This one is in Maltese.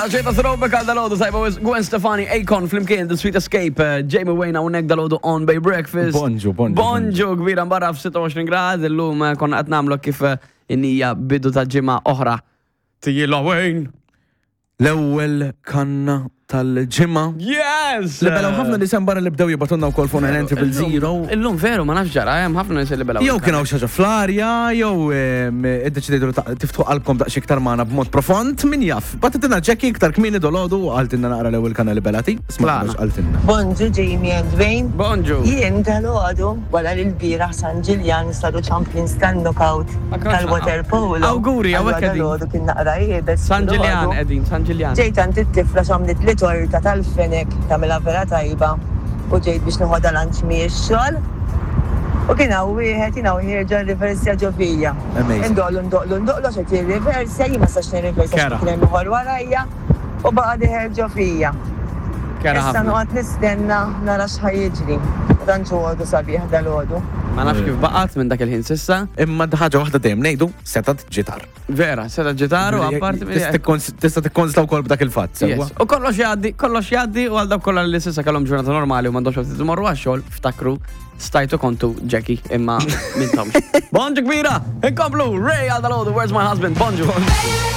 Ġejta throwback għal dalodu tajba wis Gwen Stefani, Akon, flimkien, The Sweet Escape, eh, Jamie Wayne hawnhekk dalodu on Bay Breakfast. Bonġu, bonġu. Bonġu kbira mbarra f-26 grad, illum eh, konna qed nagħmlu kif eh, innija bidu ta' ġimgħa oħra. Tijila Wayne. L-ewwel kanna tal-ġimgħa. Yes! Li belaw ħafna nies hemm barra li bdew jibatunna wkoll fuq 900. Illum veru ma nafx ġara, hemm ħafna nies li belaw. Jew kien hawn xi ħaġa fl-arja, jew iddeċidejtu li tiftħu qalbkom daqs iktar magħna b'mod profond, min jaf. Bagħtitilna Jackie iktar kmieni dolodu u qaltilna naqra l-ewwel kanna li belati. Smajna x'qaltilna. Bonġu Jamie and Wayne. Bonġu. Jien dalgħodu wara li lbieraħ San Ġiljan saru champions tan-knockout tal-water polo. Awguri, hawnhekk qegħdin. Dalgħodu kien naqra iebes. San Ġiljan qegħdin, San Ġiljan. Ġejt għand it-tifla x'għamlitli torta tal-fenek tagħmilha vera tajba u ġejt biex noħodha lunch mix-xogħol u kien hawn wieħed jien hawn ħierġa rriversja ġo fija. Indoqlu ndoqlu ndoqlu għax qed jirriversja, jien ma nistax nirriversja għax kien hemm ieħor warajja u baqa' dieħel ġo fija. Issa noqgħod nistenna nara x'ħa jiġri. Ma tantx hu għodu sabiħ dalgħodu. Ma nafx kif baqgħet minn dak il-ħin s'issa. Imma ħaġa waħda dejjem ngħidu, setgħet ġitar. Vera, setgħet ġitar u apparti Tista' tikkonsla wkoll b'dak il-fatt, sewwa. U kollox jgħaddi, kollox jgħaddi u għal dawk kollha li s'issa kellhom ġurnata normali u m'għandhomx għalfejn imorru għax-xogħol, ftakru stajtu kontu Jackie imma mintomx. Bonġu kbira! Inkomplu! Ray għal dalgħodu, where's my husband? Bonġu!